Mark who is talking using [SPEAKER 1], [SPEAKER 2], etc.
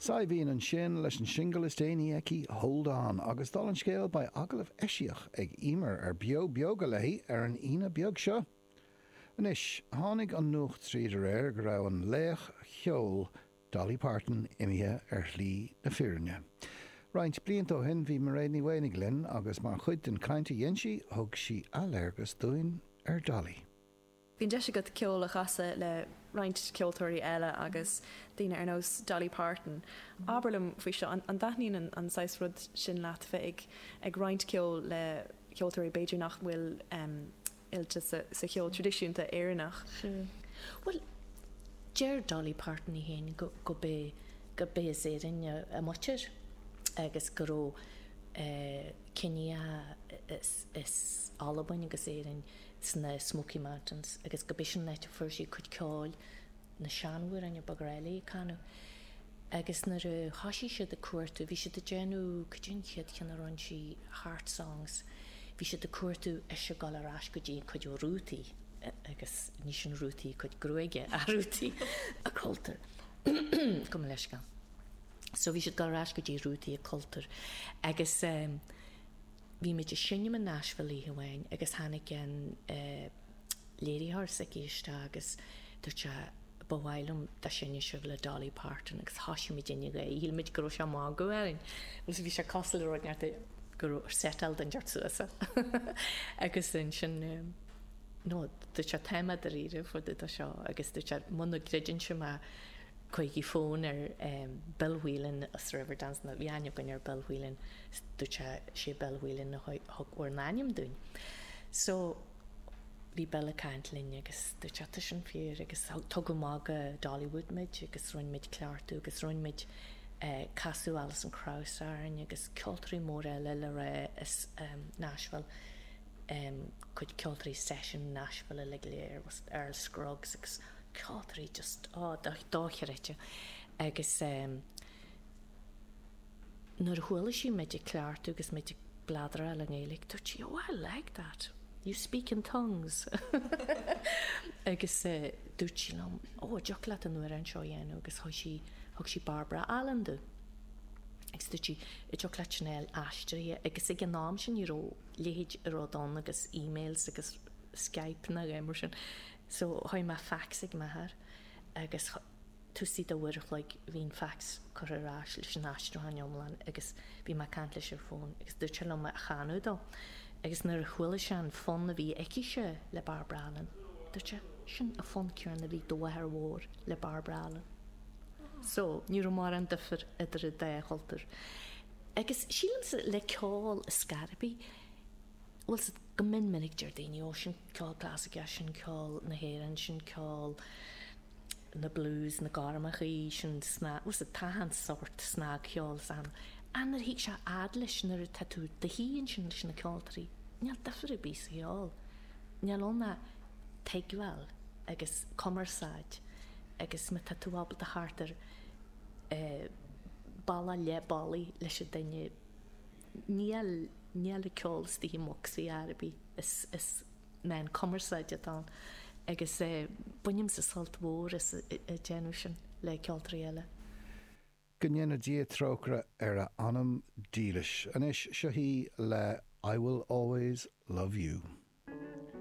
[SPEAKER 1] Saidhbhín ansin leis an singil is déanaí aici, Hold On, agus dála an scéil beidh agallamh eisiach ag Emer ar Beo Beoga léi ar an Aoine beag seo. Anois, tháinig an nuacht tríd aréir go raibh an laoch cheoil Dolly Parton imithe ar shlí na fírinne. Roinnt blianta ó shin bhí Mairéad Ní Mhaonaigh linn agus mar chuid den chaint a dhein sí, thug sí athléargas dúinn ar Dolly.
[SPEAKER 2] Bhí an deis agat ceol a chasadh le roinnt ceoltóirí eile agus daoine ar nós Dolly Parton. Abair liom faoi seo, an dtaitníonn an saghas rud sin leat, bheith ag roinnt ceoil le ceoltóirí b'fhéidir nach bhfuil oilte sa cheol traidisiúnta Éireannach?
[SPEAKER 3] Sea. Bhuel, deir Dolly Parton í féin go gurb as Éirinn a muintir agus go raibh ciníocha as Albain agus Éirinn sna Smoky Mountains agus go b'shin an áit a fuair sí a cuid ceoil, na seanamhráin a ba ghnách léi a canadh. Agus nuair a thoisigh siad ag cuartú, bhí siad ag déanamh, cad é an chéad cheann a rinne sí, Heart Songs, bhí siad ag cuartú ise ag dul ar ais go dtí a cuid rútaí agus ní sin rútaí a cuid gruaige ach rútaí a cultúir. Gabh mo leithscéal. So bhí siad ag dul ar ais go dtí rútaí a cultúir agus eh, Bhí muid ag seinm i Nashville oíche amháin agus tháinig an léiritheoir s'aici isteach agus dúirt sé ba mhaith liom dá seinnfeadh sibh le Dolly Parton agus thoisigh muid ag gáire, shíl muid go raibh sé ag magadh orainn. Bhuel bhí sé cosúil le rud inteacht go raibh setáil duine inteacht suas agus ansin no dúirt sé tá mé dáiríre fá dtaobh de seo agus dúirt sé muna gcreideann sibh mé Cuirigí fón ar Bill Whelan as Riverdance, nó bhí aithne againn ar Bill Whelan, dúirt sé, sé Bill Whelan a thug bhur n-ainm dúinn. So, bhí Bill ag caint linn agus dúirt sé, tá sin fíor agus tugadh amach go Dollywood muid agus rinne muid cleachtadh agus rinne muid casadh Alison Krauss orainn agus ceoltóirí móra eile le rá as Nashville, cuid ceoltóirí session Nashville uilig go léir, Earl Scruggs agus ceoltóirí just, oh, dochreidte. Agus nuair a chuala sí muid ag cleachtadh agus muid ag bladráil i nGaeilge, dúirt sí, oh, I like that, you speak in tongues. Agus dúirt sí liom, oh, an dtiocfadh leat an amhrán seo a dhéanamh agus thug sí, thug sí Barbara Allen domh. Agus dúirt sí, an dtiocfadh leat sin a fháil aistrithe agus ag an am sin ní raibh leithéid rud ann agus emails agus Skype ná a dhath mar sin. So chuir mé fax ag m'athair agus taobh istigh de uair a chloig bhí an fax curtha ar ais leis an aistriúchán iomlán agus bhí mé ag caint leis ar fón agus dúirt sé liom é a chanadh dó agus nuair a chuala sé an fonn a bhí aici-se le Barbara Allen dúirt sé sin an fonn céanna a bhí do mháthair mhór le Barbara Allen. So ní raibh mórán difir idir an dá chultúr. Agus sílimse le ceol ar scor ar bith, bhfuil 's a'd, Go mion minic deir daoine, ó sin ceol clasaiceach, sin ceol na hÉireann, sin ceol na blues, na gormachaí, sin snag, bhfuil 's a'd, tá an sórt snagcheol is ann. Ach nuair a thig sé fhad leis, nuair atá tú i do shuí ansin leis na ceoltóirí, níl difear ar bith sa cheol. Níl ann ach tuigbheáil agus cumarsáid agus má tá tú ábalta theacht ar bealach leath bealaigh leis an duine, Níl, níl an ceol istigh i mbocsaí ar bith, is, is meán cumarsáide atá ann agus bainimse sult mhór as ag déanamh sin le ceoltóirí eile.
[SPEAKER 1] Go ndéana Dia trócaire ar a anam dílis. Anois, seo í le I Will Always Love You.